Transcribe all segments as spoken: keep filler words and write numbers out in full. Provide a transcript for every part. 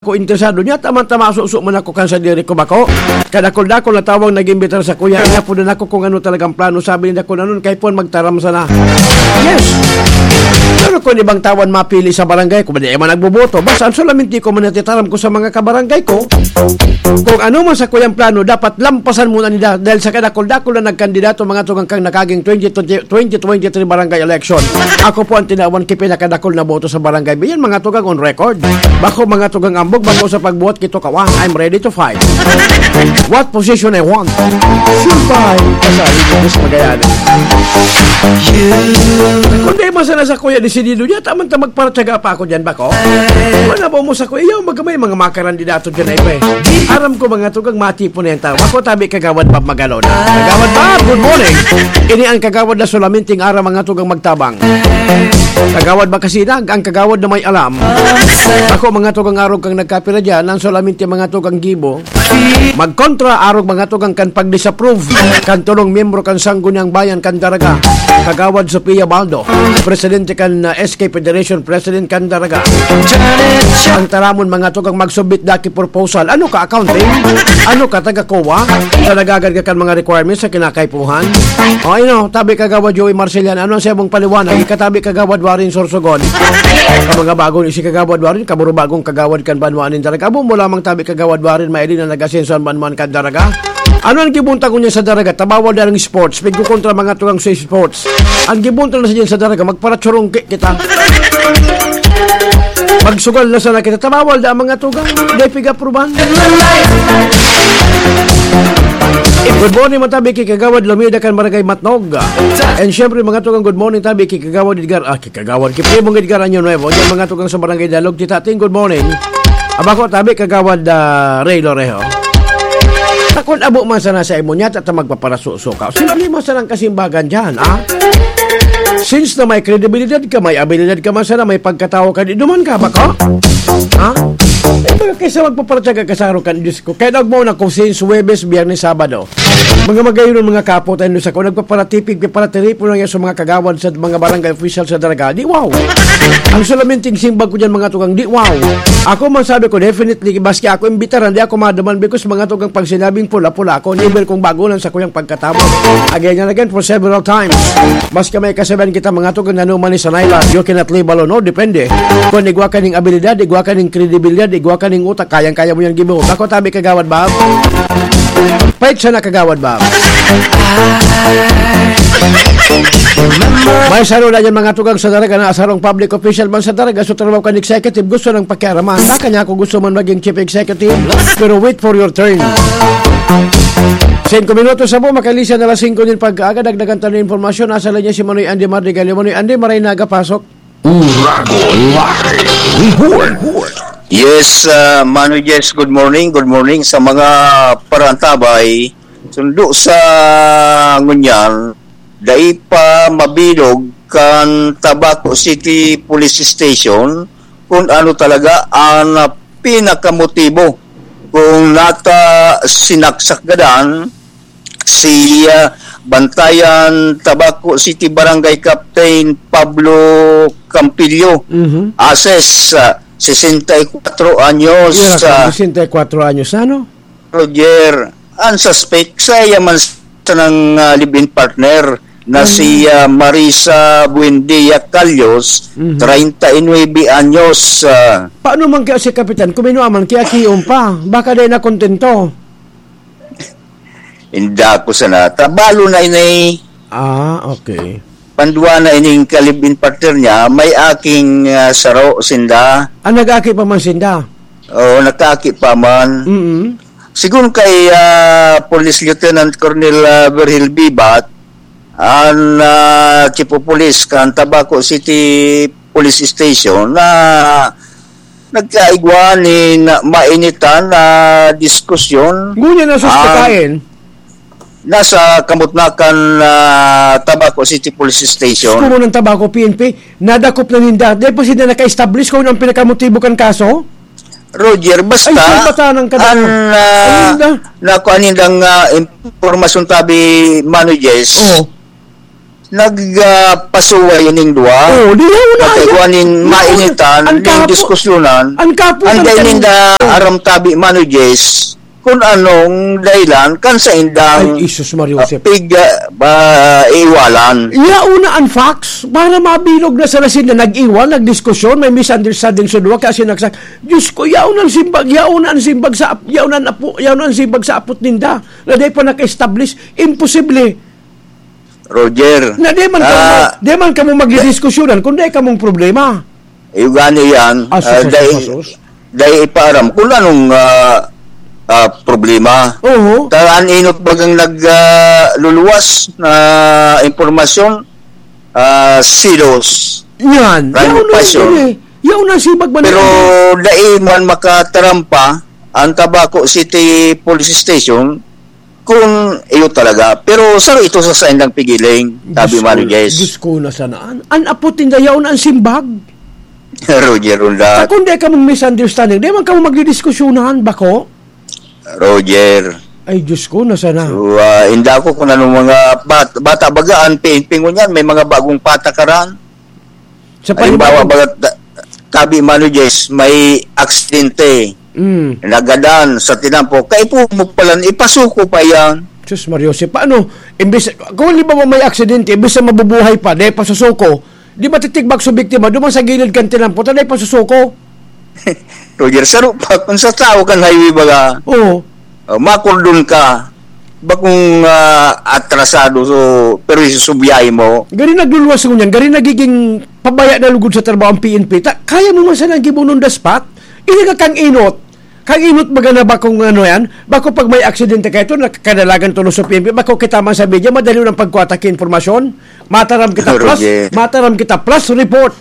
Ako interesado niya, tama-tama, suso man ako kan sadiri ko, bako. Kadakol-dakol na tawang nag-imbitar sa kuya, inapodan ako kung ano talagang plano, sabi niya, "Kun anon kay pon magtaram sana." Yes. Pero kung ibang tawan mapili sa barangay ko, ba di man nagboboto? Basta ang solamente ko man natitaram ko sa mga kabarangay ko, kung ano man sa kuyang plano, dapat lampasan muna nila dahil sa kadakol-dakol na nagkandidato, mga tugang, kang nakaging twenty twenty, twenty twenty-three barangay election. Ako po ang tinawan ki pinakadakol na boto sa barangay. Yan, mga tugang, on record. Bako, mga tugang, ambog, bako sa pagbuhat kito kawan. I'm ready to fight. What position I want? Sure fight. Basta, Diyos, Magallanes. Kung di man sana sa kuya, desidido niya, tamang ta magparatyaga pa ako dyan, bako. Wala ba mo sa kuya? Yaw, magkamay, mga makarandidato dyan, ay, pre. Aram ko, mga tugang, matipon na yan tao. Bako, tabi, Kagawad Bob Magalona. Kagawad Bob, good morning. Ini ang kagawad na sulaminting aram, mga tugang, magtabang. Kagawad Bakasinag, ang kagawad na may alam. Ako, mga tugang, arog kang nagkapira dyan, ang solamente, mga tugang, gibo. Magkontra, arog, mga tugang, kan pag-disapprove kan tulong miyembro kan Sangguniang Bayan kan Daraga, Kagawad Sofia Baldo, presidente kan, uh, S K Federation, president kan Daraga. Ang taramon, mga tugang, magsubmit daki proposal. Ano ka, accounting? Ano ka, taga COA? Sa nagagarga kan mga requirements sa kinakaipuhan? O, ino, tabi, Kagawad Joey Marcelian, ano ang sabong paliwanag? Ikatabi, Kagawad Warren Sorsogon. Ka mga bagong isi, Kagawad Warren, kaburo bagong kagawad kan banwaan nin Daraga. Abo mo lamang, tabi, Kagawad Warren, maili na nag-asenso an banwaan kan Daraga. Ano ang gibuntang niya sa Daraga? Tabawal na ang sports. Pigkukontra, mga tugang, sa sports. Ang gibuntang na sa diyan sa Daraga, magparatsurong ki-, kita. Magsugal na sana kita. Tabawal na ang mga tugang. Di pigapruban. Good morning, matabi ki Kagawad Lumida kan Barangay Matnog. And syempre, mga tugang, good morning, tabi ki Kagawad Edgar. Ah, ki Kagawad, ki Primong Edgar Año Nuevo. Yan, mga tugang, sa Barangay Dalog, Titating, good morning. Aba ko, tabi, Kagawad, ah, Ray Lorejo. Takon abo man sana sa imo niya, tata magpaparasuso ka. Simple man sana ang kasimbagan dyan, ah? Since na may kredibilidad ka, may abilidad ka man sana, may pagkatawo ka, di duman ka, bako? Ha? Eh, baga kaysa magpaparatyaga ka sa araw kan Diyos ko. Kaya nagmao na ko since Huwebes, Biyernes, Sabado. Mga magayon, mga kapo, tayo sa ko, nagpaparatipig, paparatiripo lang yan sa mga kagawad sa mga barangay official sa Daraga. Di wow! Ang salaminting simbag ko dyan, mga tugang, di wow! Ako man sabi ko, definitely, maski ako imbitaran, di ako maduman because mga tugang pag sinabing pula-pula ako, never kong bago lang sa kuyang pagkatao. Again and again, for several times. Maski may kasabihan kita, mga tugang, nanuman ni Sanay lang, you cannot live alone, no? Depende. Kung igwa ka ning abilidad, igwa ka ning kredibilidad, igwa ka ning utak, kayang-kaya mo yan gibuhok. Ako, tabi, Kagawad Bob. Pait siya na, Kagawad Bob. May saro na yan, mga tugang, sa Daraga na asarong public official man sa Daraga, so trabaho kan executive, gusto nang pakiaraman. Baka niya ako gusto man maging chief executive, pero wait for your turn. Singko minutos sa po, makalisa na alas singko nin pag-aga, dagdagan tayo ng impormasyon. Nasa linya si Manoy Andy Mardigalio. Manoy Andy, maray na aga, pasok. Uragon Live Report. Yes, ah, Manoy Jess, good morning. Good morning sa mga parantabay. Sundo sa ngunyan, dai pa mabilog kan Tabaco City Police Station kung ano talaga ang pinakamotibo kung nata sinaksak gadan si, ah, Bantayan Tabaco City Barangay Captain Pablo Campillo Mhm. Ases, ah, sesenta y cuatro anyos, Iya, ah, sesenta y cuatro anyos, ano? Roger, ang suspect, sa iya man sanang, ah, live-in partner na Ano? si, ah, Marisa Buendia Calyos, Mhm. treinta y nueve anyos, ah. Paano man kaya si Kapitan? Kuminua man, kaya kiyon pa. Baka dahil nakontento. Inda ko sana. Tabalo na ini. Ah, okay. Pandua na ining ka-live-in partner niya, may aking, ah, saro sinda. Ah, nag-aki pa man sinda? Oo, nag-aki pa man. Mm-mm. Sigun kay, ah, Police Lieutenant Colonel, ah, Virgil Bibat, an, ah, Chief of Police kan Tabaco City Police Station na nagkaigwa nin mainitan na diskusyon. Ngunyan na suspekain? Nasa Kamutnakan, ah, Tabaco City Police Station. Kumo ng Tabaco, P N P, nadakop na ninda. Dahil po sila naka-establish kung ang pinakamotibo kan kaso? Roger, basta Ay, saan ba tanang ka an, na? ah, Ayun na. nakuha nindang, ah, impormasyon tabi, Mano Jess, Oo. nag, ah, pasuway ining duwa. Oh, di yaon na, Nagkagwa nin yaon na. mainitan, Ang ning kapo-, diskusyonan. ang kapo Ang ng dahil kan- ninda aram tabi, Mano Jess, kung anong dahilan kan sa indang, Ay, Jesus Maria ah, Joseph. pig, ah, ba, iwalan. Yaon na ang facts para mabilog na sa lasin na nag-iwan, nagdiskusyon, may misunderstanding sa duwa, kaya sinagsak. Diyos ko, yaon ang simbag, yaon ang simbag sa ap-, yaon ang apo, yaon ang simbag sa apot ninda na di pa naka-establish. Imposible. Roger. Na di man kamo, Ah. di man kamo magdidiskusyonan kung di kamong problema. Iyo gani yan, Ah, ah, sus, dai, sus, sus. dai ipaaram kung anong, ah, ah, problema. Oho. Taan inot bagang nag, ah, luluwas na impormasyon, ah, silos. Yan. Private Yaon na passion. yun eh. Yaon na si Bagman. Pero dai man makatarampa ang Tabaco City Police Station kung iyo talaga. Pero saro ito sa saindang pigiling, sabi Diyos Mano ko, Jess. Diyos ko, nasaan? An apot ninda yaon ang simbag. Roger Ronda. Kung di ka mong misunderstanding, di man ka mong magdidiskusyonan, bako? Roger. Ay, Diyos ko, nasaan na? So, ah, inda ko kung anong mga bat-, bata baga, ang P N P ngunyan, may mga bagong patakaran. Sa Halimbawa, panibago- baga, ta-, tabi, Mano Jess, may aksidente. Mm. Nagadan sa tinampo. Kaipo mo palan, ipasuko pa yan. Sus, Mario, si paano? Imbis, kung halimbawa may aksidente, imbis na mabubuhay pa, dahil pasusuko, di matitigbak sa biktima, duman sa gilid kan tinampo, tanay pasusuko. Roger, saro pa, kung sa tao kan highway baga, Oo. oh, makordon ka, bakong, ah, atrasado, so, pero isusubyahe mo. Gari nagluluwas ngunyan, gari nagiging pabaya na lugod sa trabaho ang P N P. Ta-, kaya mo man sanang gibo on the spot? Ini ka kang inot. Kang inot baga na bakong ano yan? Bako pag may aksidente kayo, ito, nakakadalagan tulos sa P N P. Bako kita man sa media, madali ng pagkuha ta ki impormasyon. Mataram kita plus, Roger. mataram kita plus report.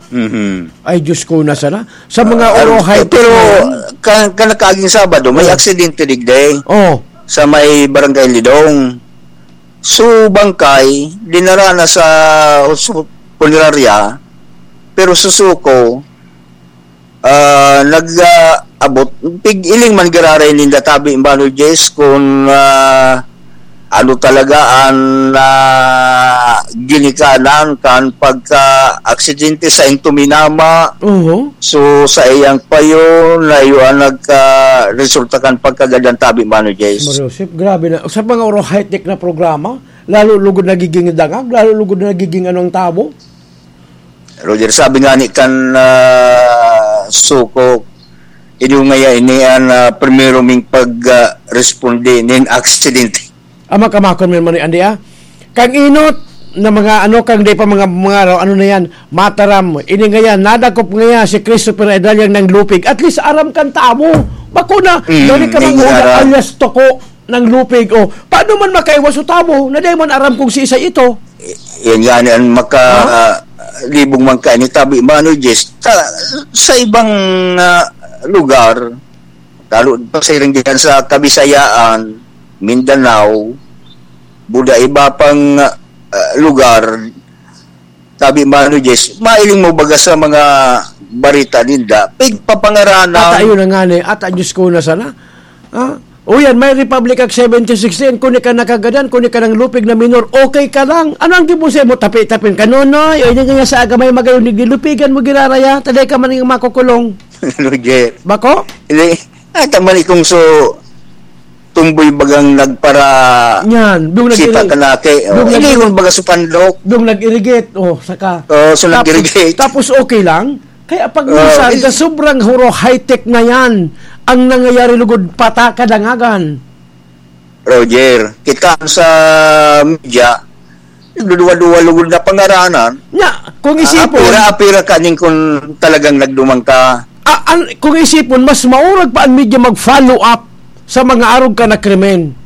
Mhm. Ay, Diyos ko, nasaan na? Sa mga Ah, orohay, pero yan. ka-, kanakaging Sabado, may Oh. aksidente digdi Oh. sa may Barangay Lidong. So, bangkay, dinara na sa hos-, punerarya, pero susuko, ah, nag, ah, abot, pig-iling man giraray ninda tabi, Mano Jess, kung, ah, ano talaga ang, ah, ginikanan kan pagka-aksidente sa Intuminama. Oho. So, sa iyang payo, na iyo ang nagka-resulta kan pagkagadan tabi, Mano Jess. Mario Joseph, grabe na. Sa mga oro high-tech na programa, lalo lugod nagiging dangag, lalo lugod na nagiging ano ang tabo. Roger, sabi nga ni kan, ah, suko, inyo ngaya ini an, ah, primero ming pag, ah, responde nin aksidente. Ama ka makon man man, Andy, ah. Kang inot na mga ano, kang di pa mga, mga ano na yan, mataram. Ini nga yan, nadakop nga yan si Christopher Edalyang nang lupig. At least aram kan tamo. Bako na, Mm, dali ka may mga aram. Alias toko nang lupig. O, paano man makaiwas o tamo? Na di man aram kung si isa ito. Yan nga ni ang maka, Ha? ah, libong man ka ni tabi, Mano Jess. Sa, sa ibang, ah, lugar, lalo pa sa iring diyan sa Kabisayaan, Mindanao, buda iba pang, ah, lugar, tabi, Mano Jess, mailing mo baga sa mga barita ninda, pigpapangaranan. Ata, ayun na nga ni, ata, Diyos ko, na sana. Ah, o yan, may Republic Act seventy sixteen, kung di ka nakagadan, kung di ka nang lupig na minor, okay ka lang. Ano ang gibusay mo? Tapi-tapin ka, nonoy, o yun nga sa aga may magayon, di lupigan mo, giraraya, taday ka man yung makukulong. Roger. Bako? Hindi, ay, tama ni kung so, tumboy bagang nagpara Yan, yung nag-, sipa ka na kay, oh, yung nag-, hindi kung baga supandok. Yung nag-irrigate, oh, saka. Oh, so Tapos, nag-irrigate. tapos okay lang? Kaya pag Oh, minsan, il- sa sobrang huro, high-tech na yan, ang nangyayari lugod, pata, kadangagan. Roger, kita sa media, nagduduwa-duwa lugod na pangaranan. Nya, kung Ah, isipon, apira-apira kaning kung talagang nagduman ka. Ah, an-, kung isipon, mas maurag pa ang media mag-follow up sa mga arog ka na krimen.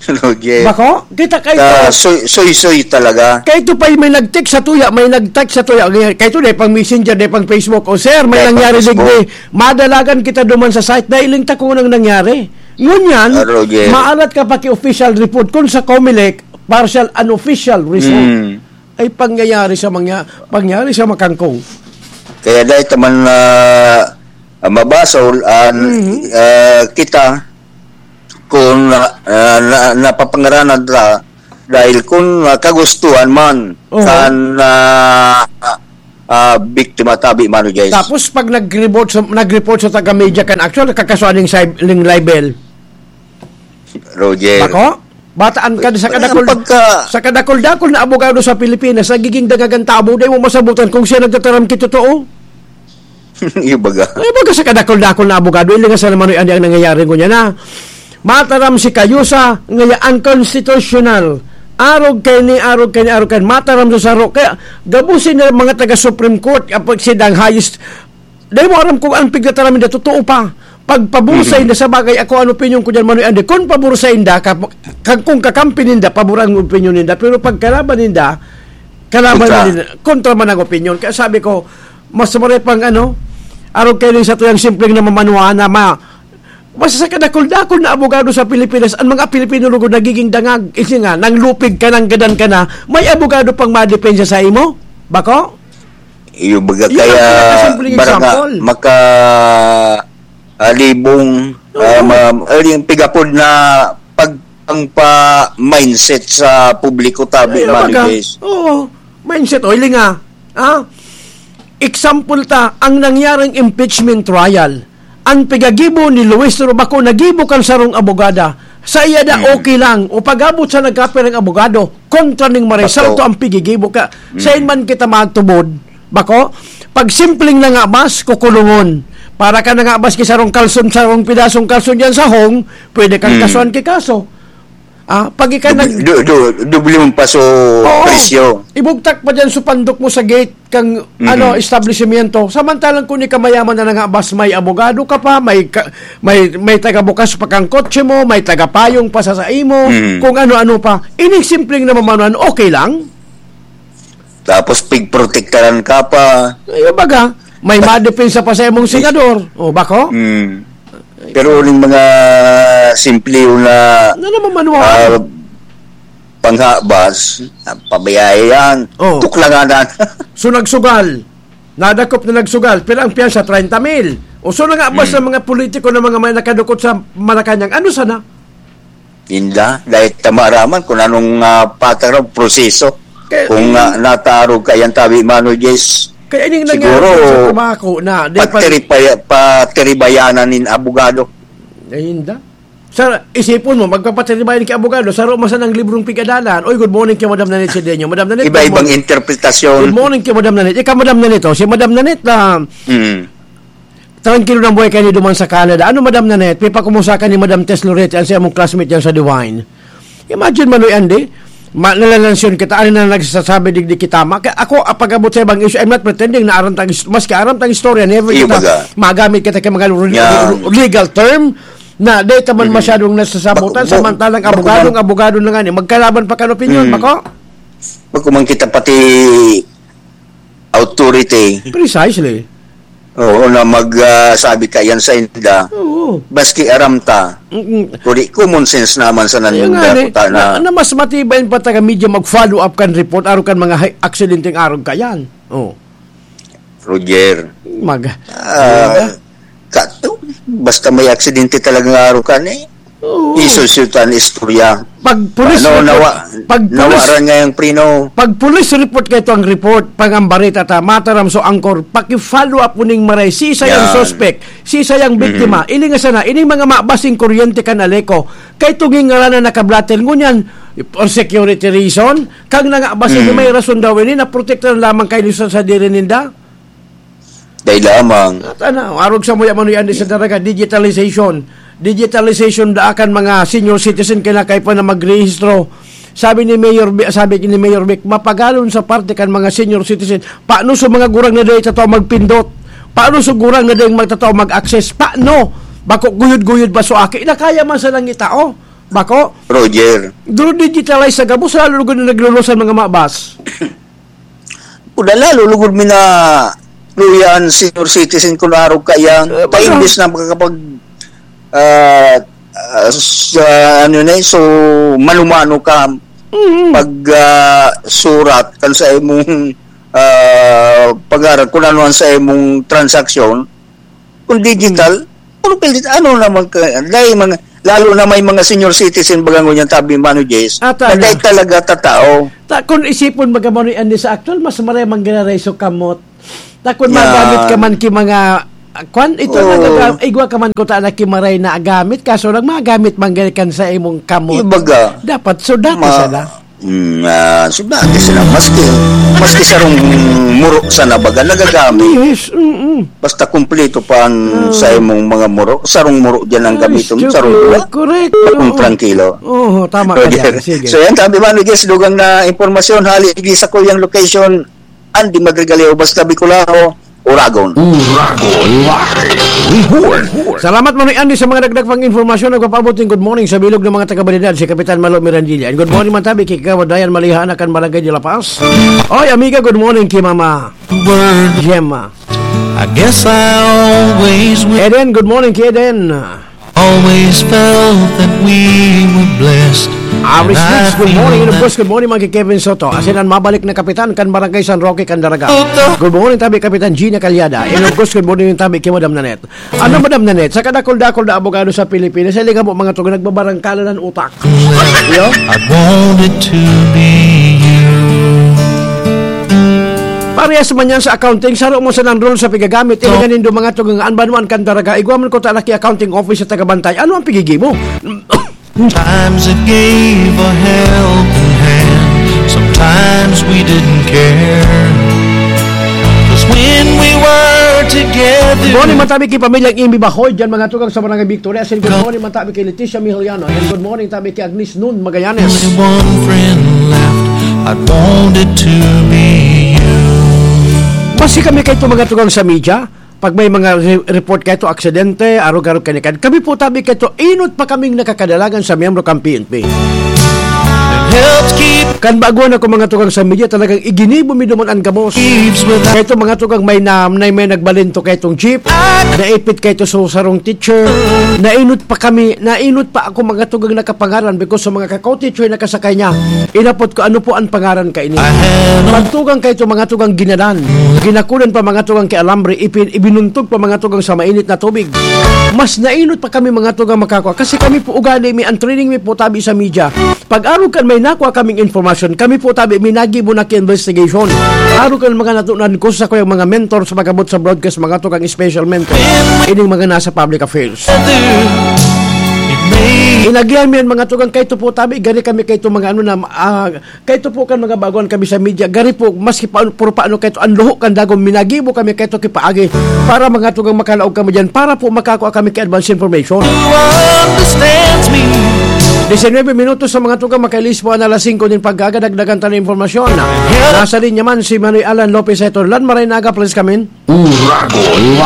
Roger. Bako? Kita kay Ah, ito. soy-, soy-soy talaga. Kay ito pa, may nag-text sa tuya, may nag-text sa tuya. Kay ito, dahil pang messenger, dahil pang Facebook. O, sir, may Dahil pang nangyari Facebook. digdi. Madalagan kita duman sa site. Dahil lang ta kung anong nangyari. Ngunyan, Ah, Roger. maalat ka pa ki official report. Kung sa Comelec, partial unofficial result. Mm. Ay pangyayari sa mangya-, pangyari sa makangkong. Kaya dahil taman na, ah, mabasa, ul-, ah, Mhm. ah, kita, kung, ah, ah, na, napapangaranan ta, Dahil kun, ah, kagustuhan man Oo. kan, ah, ah, biktima tabi, Mano Jess. Tapos pag nag-report sa, nag-report sa taga-media kan actual, nakakasuhan ning sib-, ning libel. Roger. Bako? Bataan ka sa Ang kadakol, pagka- sa kadakol-dakol na abogado sa Pilipinas, nagiging dangagan tabo, di mo masabutan kung siya nagtataram ki totoo. Yung baga. Ay, baga sa kadakol-dakol na abogado, ilingasan naman yung ang nangyayari ko niya na. Mataram si Kayusa, ngaya unconstitutional. Arog kay ni, arog kay ni, arog kay ni. Mataram sa saro. Kaya, gabusin na mga taga-Supreme Court, kapag sidang highest, dahil mo aram kung ang pigtataram nila, totoo pa. Pagpabor sa Mhm. inda, sa bagay, ako ang opinion ko dyan, Manoy Andy. Kung pabor sa inda, ka, ka, kung kakampi ninda, pabor ang opinion ninda. Pero pag kalaban ninda, kalaban Kontra. man ninda, kontra man ang opinion. Kaya sabi ko, mas maray pang ano, arog kayo sa tuyang simpleng na mamanuhan na ma, basta sa kadakol-dakol na abogado sa Pilipinas, ang mga Pilipino lugod nagiging dangag. Kasi nga, nang lupig ka, nang gadan ka na, may abogado pang madepensa sa imo? Bako? Iyo, baga Yun ang kaya pinakasimpleng barang nga example. maka, ah, libong, Oo. ah, ma-, ah, yung pigapod na pag-, ang pa-mindset sa publiko, tabi, Ay, Mano baga. Jess. Oo. Mindset, o, ilinga. Ah? Example ta, ang nangyaring impeachment trial. Ang pigagibo ni Luis Robaco, nagibo kan sarong abogada. Sa iya da, Mm. okay lang. O pag-abot sa nagkapirang abogado, kontra ning maray, Bako. sarto ang pigigibo ka. Mm. Sain man kita magtubod, bako? Pag simpleng nangabas, kukulungon. Para ka nangabas ki sarong kalson, sarong pidasong kalson diyan sa hong, pwede kang Mm. kasuhan ki kaso. Ah, pag ika Dub-, nag- du-, du-, doble mong paso Oo. presyo. Ibugtak pa diyan sa pandok mo sa gate kang, Mm. ano, establishmento. Samantalang kung ika mayaman na nangabas, may abogado ka pa, may ka-, may, may tagabukas pa kang kotse mo, may tagapayong pa sa, sa imo, Mm. kung ano-ano pa. Ining simpleng na mamanuan, okay lang? Tapos pigprotektaran ka pa. Ay, baga, may madepensa pa sa imong senador. O, bako? Mm. Pero uling mga simple na, Na namamanuan. ah, panghabas, ah, pabayaan yan. Oh. Tuklanganan. So, nagsugal. Nadakop na nagsugal. Pero ang piyansa, treinta mil. O, so, nangabas Hmm. ng mga politiko na mga may nakadukot sa Malacañang. Ano sana? Inda, dahil ta maaraman kung anong, ah, patakaran, proseso. Kaya, Kung, eh, ah, natarog ka yan, tabi, Mano Jess, kaya ining nangyari siguro, sa trabaho na, di pa pagtiripaya-, patiribayanan nin abogado. Ay, inda. Sa, isipon mo, magpapatiribayan ki abogado, saro man sanang librong pigadalan. Oy, good morning kay Madam Nanette Sedeño. Madam Nanette, good Iba-ibang morning. interpretasyon. Good morning kay Madam Nanette. Ikaw, Madam Nanette, oh, si Madam Nanette, ah, Mm. Trangkilo nang buhay kaini duman sa Canada. Ano, Madam Nanette? Pipakumusta ka ni Madam Tess Lorete, ang sa imong classmate diyan sa Divine. Imagine, Manoy Andy, ma-, nalalansyon kita, ano na nagsasabi, digdi kita. Ma-, ka-, ako, ah, pag-abot sa ibang issue, I'm not pretending na aram tang is-, maski aram tang istorya, never Iyo, kita baga. magamit kita kay mga re-, Yan. re-, legal term na di ta man Mm. masyadong nasasabutan, Bako, samantalang bako, abogadong, bako. abogado na nga ni, magkalaban pa kan opinyon, Mm. bako? Bako man kita pati authority. Precisely. Oo, na mag, ah, sabi ka yan sa inda. Oo. Maski aram ta. Mm-mm. Kundi common sense naman sa Ayun nga, nanda, eh, puta na, na. na mas matibay pa taga media mag-follow up kan report, araw kan mga hay-, aksidenteng arog ka yan. Oh. Roger. Mag-, Ah, ano ba? kato, basta may aksidente talaga nga arog ka ni. Oo. Isulsultan istorya. Pag police Ano, report, nawa-, pag police, nawaran nga yung prino. pag police report kayo ang report, pag ang barita ta, mataram so angkor, paki-follow up mo ning maray, si isa yung Yan. suspect, si isa yung biktima, Mm. ilingasan na, ining mga mabasing kuryente kan Aleco, kay tunging ngaranan nakablatel, ngunyan, for security reason, kang nangabasing Mm. may rason daw ini, naprotektahan lamang kayo sa sadiri ninda. Dai lamang. At ano, arog sa muya manuyan di sa daraga, digitalization. Digitalization da kan mga senior citizen kaya na kayo pa na magrehistro. Sabi ni Mayor Bi-, sabi ni Mayor Vic, mapagalon sa parte kan mga senior citizen. Paano sa mga gurang na dahil tataw magpindot? Paano sa gurang na dahil magtataw mag-access? Paano? Bako guyod-guyod ba so aki? Na kaya man sa langit tao? Bako? Roger. Duro digitalize sa gabos, lalo lugod na naglulusan mga mabas. Kuda lalo, lugod mi na luya an senior citizen kun arog kaiyan. Eh, baka Paimbis na makakapag, ah, ah, sa ano na eh, so, mano-mano ka Mm. pag, ah, surat kan sa imong, ah, pag-aral, kung ano ang sa imong transaksyon, kung digital, Mm. kung pilit, ano naman ka, dahil mga, Lalo na may mga senior citizen, baga ngunyan, tabi, Mano Jess, Ata na na. dai talaga tatao. Ta-, kung isipon, baga, Mano Andy, sa aktuwal, mas maray manggiraray sa kamot. Ta, kung Yeah. magamit ka man ki mga, ah, kwan, ito Oo. na gaga-, igwa ka man kuta na ki maray na gamit, kaso lang magamit man gani kan sa imong kamot. Ibaga. Dapat sudati Ma-, sana. Mm, ah, sudati sana. Maski, maski sarong muro sana baga nagagamit. Yes, mm-mm. Basta kumpleto pa ang Ah. sa imong mga muro. Sarong muro diyan ang Ay, gamiton, Diyos sarong ko, buwak. Correct. Kung Oo. trangkilo. Oo, tama ka Okay. dyan. Sige. So, yan, sabi, Mano Jess, dugang na impormasyon, hali, di sa kuyang location, Andy Madrigaleo, basta Bicolano, Uragon. Uragon Live Report. Salamat, Manoy Andy, sa mga dagdag pang informasyon. Nagpapaabot ng good morning sa bilog ng mga taga-Balidad, si Kapitan Malo Mirandilla. And good morning man tabi kay Kagawad Dayan Maliha, anak kan Barangay de La Paz. Oy, amiga, good morning kay Mama Word. Gemma. I guess I always will. Eden, good morning kay Eden. Always felt that we were blessed. Aris And I Mix, good feel morning. And of that course, good morning, mga kay Kevin Soto. Asin ang mabalik na kapitan kan Barangay San Roque, Candaraga. Good morning, tabi, Kapitan Gina Calyada. And of course, good morning, tabi, kay Madam Nanette. Ano, Madam Nanette? Sa kadakol-dakol na abogado sa Pilipinas, sa liga mo, mga tugang nagbabarangkalan ng utak. Yo? I wanted to be you. Parehas man yan sa accounting, saro mo sa nang rule sa pigagamit, So, ilingan nindo, mga tugang, an banwaan kan Daraga, igwa man ko ta laki accounting office sa tagabantay. Ano ang pigigi mo? Times it gave a helping hand. Sometimes we didn't care. 'Cause when we were together, Good morning, matabi kay pamilyang Imi Bahoy, dyan, mga tugang, sa Barangay Victoria. Asin good morning, matabi kay Leticia Mihiliano. And good morning, tabi kay Agnes Nun Magallanes. Only one friend left. I wanted to be you. Basi kami kay ito, mga tugang, sa media. Pag may mga re-, report kaito, aksidente, arog-arog, kanikad. Kami po, tabi kaito, inot pa kaming nakakadalagan sa miyembro kan P N P. Helps keep Kan baguhan ako, mga tugang, sa media, talagang iginibo mi duman an gabos. Leaves without Kaito, mga tugang, may na, may, may nagbalinto kaitong jeep, naipit kaito sa sarong teacher, nainot pa kami, nainot pa ako, mga tugang, nakapangaran because sa mga kakaw teacher na kasakay niya, inapot ko, "Ano po ang pangaran kaini?" I had no Pagtugang kaito, mga tugang, ginadan. Ginakunan pa, mga tugang, ki alambre, ipin-, ibinuntog pa, mga tugang, sa mainit na tubig. Mas nainot pa kami, mga tugang, makakua. Kasi kami po, ugali mi, ang training mi po, tabi sa media. Pag arog kan may nakua kaming informasyon, kami po, tabi, may nagibo na ki investigation. Arog kan mga natunan ko sa kuyang mga mentor sa pag-abot sa broadcast, mga tugang, special mentor. Ining mga nasa public affairs. Inagihan mi yan, mga tugang, kaito po, tabi, gani kami kaito, mga ano na, ah, Kaito po kan mga baguhan kami sa media, gari po, maski pa, puro paano kaito, ang luho kan dagom, minagibo kami kaito kipaagi para, mga tugang, makalaog kami diyan, para po makakua kami ki advance information. Who understands me? Diecinuebe minutos sa, mga tugang, makailis po ang alas singko nin pag-aga, dagdagan ta na impormasyon. Nasa linya man si Manoy Alan Lopez Etorlan. Maray na aga, please come in. Uragon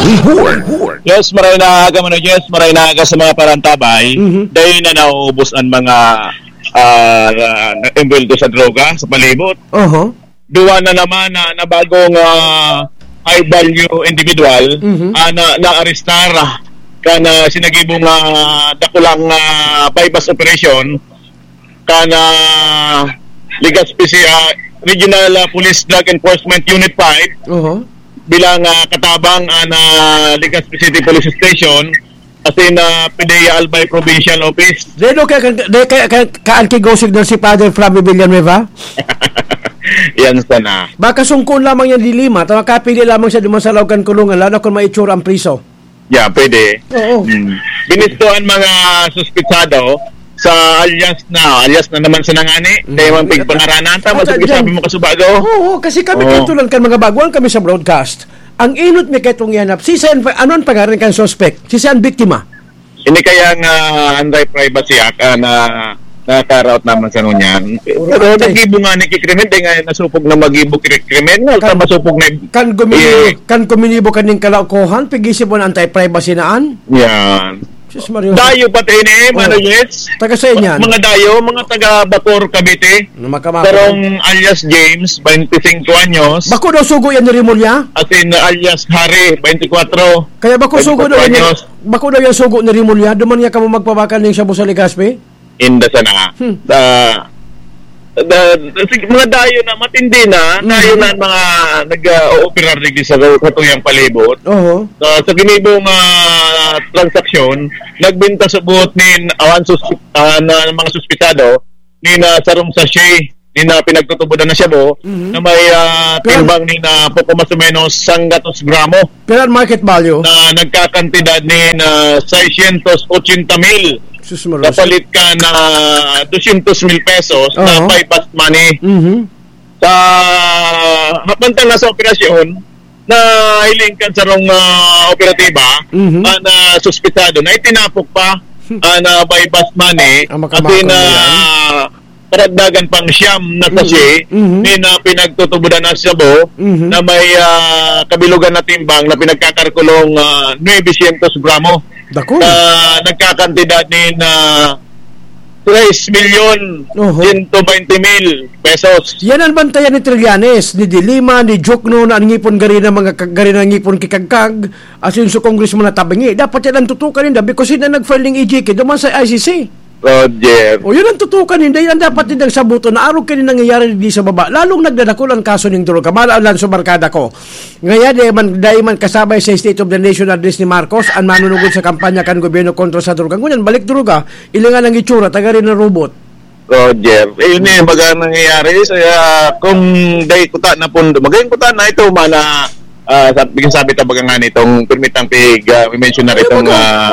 Live Report. Yes, maray na aga, Mano Jess, maray na aga sa mga parantabay. Mhm. Dahil na nauubos ang mga, ah, na, na envuelto sa droga sa palibot. Oho. Duwa na naman na, na bagong, ah, high value individual, Mhm. ah, na, naarestar, ah, kan, ah, sinagibong, ah, dakulang, ah, buy-bust operation kan, ah, Legazpi Ci-, ah, Regional, ah, Police Drug Enforcement Unit five, Oho. bilang, ah, katabang, ah, na Legazpi City Police Station, asin, ah, PDEA Albay Provincial Office. Deno kaya kan, de, kaya, kaya, kaan ki go signal si Father Flavio Villanueva? Yan sana. Baka sungkon lamang yan di lima, ta makapili lamang siya duman sa laog kan kulungan, lalo na kung may itsura ang priso. Yeah, pwede. Oo. Mm. Binisto ang mga suspitsado sa alias na, alias na naman sa nangani. Mm. Kaya mang pigpangaranan, tama At sa dyan, sabi mo, Kasubago? Oo, kasi kami Oo. katulan kan mga baguhan kami sa broadcast. Ang inot mi kaitong ihanap, si Sen, ano ang pangaran kan suspect? Si Sen biktima? Ini kaya nga Anti-Privacy Act, ah, na nakaraot naman sa ngunyan. Puro Pero anti. Nagibo nga ni ki krimen, di nga nasupog na magibo ki krimen, no? Kan, Sa masupog na kan guminibo, Eh. kan guminibo kaning kalaukohan, pigisi po na anti-privacy na an. Yan. Sus Maria. Dayo pati ini, Oh. Mano Jess. Taga saan yan? Mga dayo, mga taga Bacoor, Cavite. Na makamako. Sarong alias James, twenty-five anyos. Bako daw sugo yan ni Rimulya? As in, alias Harry, twenty-four. Kaya bako sugo daw yan ni, Twenty-four anyos. bako daw yan sugo ni Rimulya? Duman nga kamo magpabakal ning shabu sa Legazpi? Inda sana. Hmm. Da, da, sige, mga dayo na, matindi na, Hmm. dayo na ang mga nag-, ah, ooperar digdi sa, sa tuyang palibot. Oho. Sa, sa ginibong, ah, ah, transaksyon, nagbenta subot nin, ah, an suspe-, ah, na mga suspetsado, nin, ah, sarong sachet, nin, ah, pinagtutubodan na shabu, Mhm. na may, ah, Pero timbang nin, ah, poko mas o menos sanggatos gramo Pero ang market value? na nagkakantidad nin, ah, seiscientos ochenta mil. Sus, marosa. Kapalit kan, ah, dosyentos mil pesos na Oo. buy bust money. Mhm. Sa, habang na sa operasyon, nahiling kan sarong, ah, operatiba, Mhm. ah, na suspetsado na itinapok pa, Hmm. ah, na buy bust money, Ang makamakal kasi na yan. karagdagan pang siyam na Mm. sachet, Mhm. ni na pinagtutubodan na shabu, Mhm. na may, ah, kabilugan na timbang na pinagkakarkulong, ah, nuebe syentos gramo. Dako. Na nagkakantidad ni na tres milyon Oho. sento baynte mil pesos. Yan ang bantayan ni Trillanes, ni De Lima, ni Diokno, na an ngipon gari na mga kag-, gari na ngipon ki kagkag, asin su congressman na tabingi. Dapat yan ang tutukan ninda because hindi nag-file ning E J K duman sa I C C. Roger. O, yun ang tutukan ninda. Yan ang dapat nindang sabuton na arog kaini nangyayari di sa baba. Lalong nagdadakol ang kaso ning droga. Mahal ang Lanzo Barkada ko. Ngaya, dai man, dai man kasabay sa State of the Nation Address ni Marcos, an manunugod sa kampanya kan gobyerno kontra sa droga. Ngunyan, balik droga, ilingan ang itsura, taga rin na robot. Roger. Eh, yun eh, baga nangyayari. So, ah, kung dai kuta na pundo, magayong kuta na ito, mana, ah, sa, sabi ta baga nga nitong permitang pig, ah, mention na Ano ritong, ba to? ah,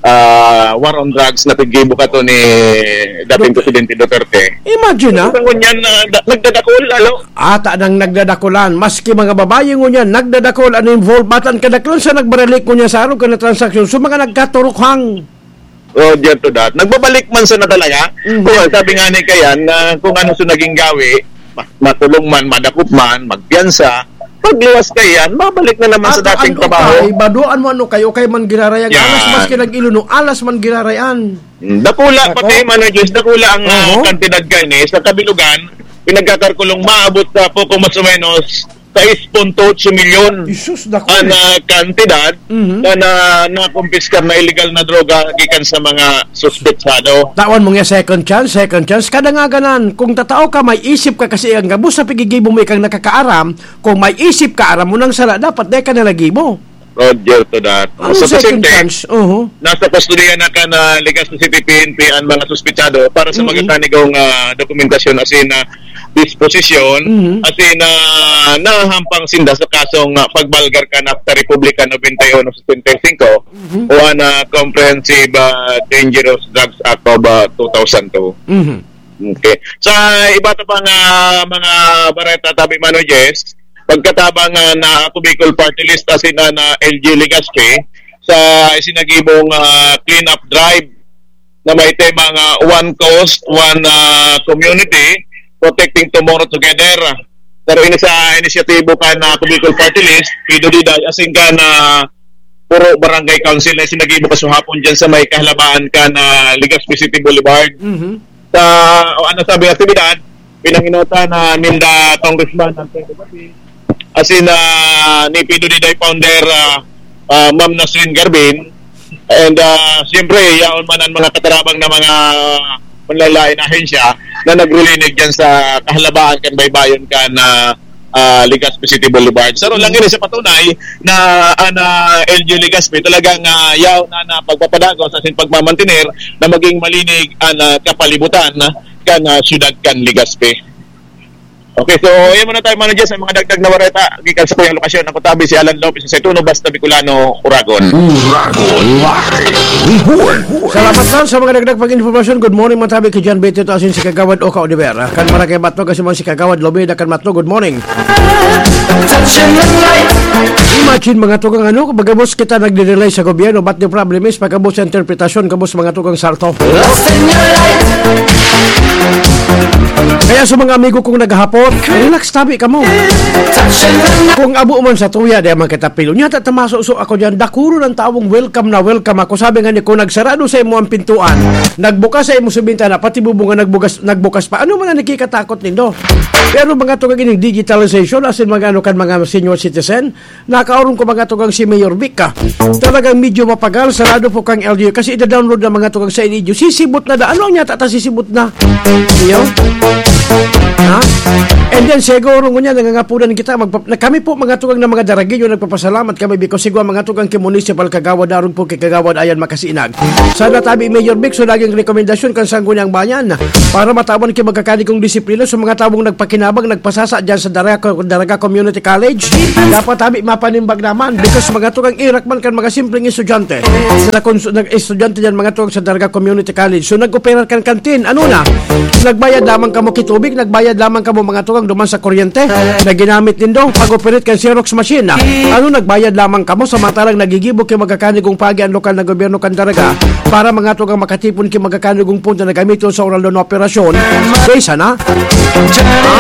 ah, war on drugs na piggibo ka to ni dating Dut- Presidente Duterte. Imagine, ah. Sa ngunyan, ah, da-, nagdadakol, lalo. Ata nang nagdadakulan, maski mga babae ngunyan, nagdadakol an involved. Batan kadaklan sa nagbaralik ngunyan sa araw ka na transaksyon, so mga nagkaturukhang. Roger to that. Nagbabalik man sana talaga. Mhm. Kung sabi nga ni Kayan, na kung ano sa naging gawi, ma-, makulong man, madakop man, magpiyansa, pagluwas Kayan, babalik na naman sa Ato dating an trabaho. ukay, badoan mo an ukay, ukay man giraray an alas, Yan. maski nag-ilono, alas man giraray an. Mm, dakula, Ako? pati, Mano Diyos, dakula ang, ah, Oho. kantidad kaini sa kabilugan, pinagkakarkulong maabot sa poko mas o menos sais punto otso milyon Jesus, dako, an, eh. ah, kantidad Mhm. na, na, nakumpiskar na illegal na droga gikan sa mga suspetsado. Tawan mo nga second chance, second chance. Kada nga ganan, kung tatao ka, may isip ka kasi ang gabos sa pigigibo mo ikang nakakaaram, kung may isip ka, aram mo nang sala, dapat dai ka nalagibo. Roger to that. Ano Sa second presente, chance? Oho. nasa kustodiya na kan Legazpi City P N P ang mga suspetsado para sa Mm-mm. mga kanigong, ah, dokumentasyon asin, ah, disposisyon, Mm-hmm. asin, ah, nahahampang sinda sa kasong, ah, pagbalgar kan Akta Republika nobenta y uno setenta y cinco Mm-hmm. o ang, ah, Comprehensive, ah, Dangerous Drugs Act of, ah, two thousand two. Mm-hmm. Okay. Sa iba ta pang, ah, mga bareta, tabi, Mano Jess, pagkatabang, ah, na ako Bicol Party List, asin na, na L G Legazpi, sa isinagibong, ah, clean-up drive na may temang, ah, One Coast, One, ah, Community, Protecting Tomorrow Together. Pero ini sa inisyatibo kan, ah, ako Bicol Party List, Pido Diday, asin kan, ah, puro barangay council na sinagibo kasuhapon dyan sa may kahalabaan kan, ah, Legazpi City Boulevard. Mhm. Sa, o ano sabi ng aktibidad, pinanginutan na ninda Congressman Antonio Garbin, asin na ni Pido Diday founder, ah, ah, Ma'am Nasrin Garbin, and, ah, siyempre, yaon man ang mga katarabang na mga manlalain na ahensya na naglilinig dyan sa kahalabaan kan baybayon kan, ah, ah, Legazpi City Boulevard. Sa lang ini sa patunay na an, ah, L G Legazpi talagang, ah, yaw na, na pagpapadagos asin pagmamantener na maging malinig an, ah, kapalibutan kan, ah, siyudad kan Legazpi. Okay, so yan muna tayo, Mano Jess, sa mga dagdag na bareta. Gikan sa kuyang lokasyon, ako tabi si Alan Lopez sa Setuno, Basta Bicolano, Uragon. Uragon Live Report. Salamat lang sa mga dagdag pag-informasyon. Good morning, matabi ki John Betito asin si Kagawad Oka Oliver. Kan Barangay Matnog, kasi man si Kagawad Lobeda kan Matnog. Good morning. Imagine, mga tugang, ano, pagkabos kita nagdi-delay sa gobyerno, but the problem is, pagkabos sa interpretasyon, kabos, mga tugang, sarto. Kaya sa mga amigo kong naghahapot, relax tabi kamo. Kung abo man sa tuya, di man kita pilo. Nyata, tamaso-so ako dyan, dakulo ng taong welcome na welcome ako. Sabi nga ni, kung nagsarado sa imo ang pintuan, nagbukas sa imo sa bintana, pati bubunga nagbukas, nagbukas pa. Ano man ang nakikatakot nindo? Pero mga tugang, ining digitalization, asin mga ano kan mga senior citizen, nakaurong ko, mga tugang, si Mayor Vic, ah. Talagang medyo mapagal, sarado po kang L G U. Kasi ida-download na, mga tugang, sa inyo. Sisibot na da. Ano ang nyata ta sisibot na? Iyo? Ha? And then siguro ngunyan nangangapunan kita, magpa- na kami po mga tugang na mga Daragueño, nagpapasalamat kami because sigwa mga tugang ki Municipal Kagawad, arog po ki Kagawad Ayan Makasinag. Sana tabi Mayor Vic, so laging rekomendasyon kan Sangguniang Bayan para matawan ki magkakanigong disiplina sa mga tawong nagpakinabang, nagpasasa dyan sa Daraga, Daraga Community College. Dapat tabi mapanimbag naman because mga tugang irak man kan mga simpleng estudyante. Sa nakons- nag-estudyante dyan mga tugang sa Daraga Community College. So nag-operar kan kantin. Ano na? Nagbayad lamang kamo ki tubig, nagbayad lamang kamo mga tugang duman sa kuryente na ginamit nindo pag-operate kan Xerox machine. Ano, nagbayad lamang kamo samantalang nagigibo ki magkakanigong pagi ang lokal na gobyerno kan Daraga para mga tugang makatipon ki magkakanigong pondo na gamiton sa oral na operasyon. Kaysa na? Ha?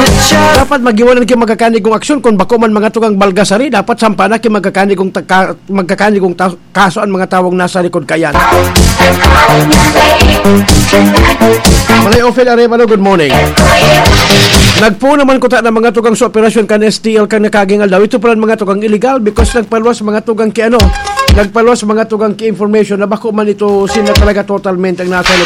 Dapat magiwanan ki magkakanigong aksyon kung bako man mga tugang balgasari, dapat sampa na ki magkakanigong tagka- magkakanigong ta- kaso ang mga tawong nasa likod kayan. Malay Ophel Arevalo, good morning. Nagpuno man kuta ng mga tugang sa operasyon kan S T L kan nakaging aldaw. Ito pala ang mga tugang illegal because nagpaluwas mga tugang ki ano, nagpaluwas mga tugang ki information na bako man ito sila talaga totalmente ang nasa likod.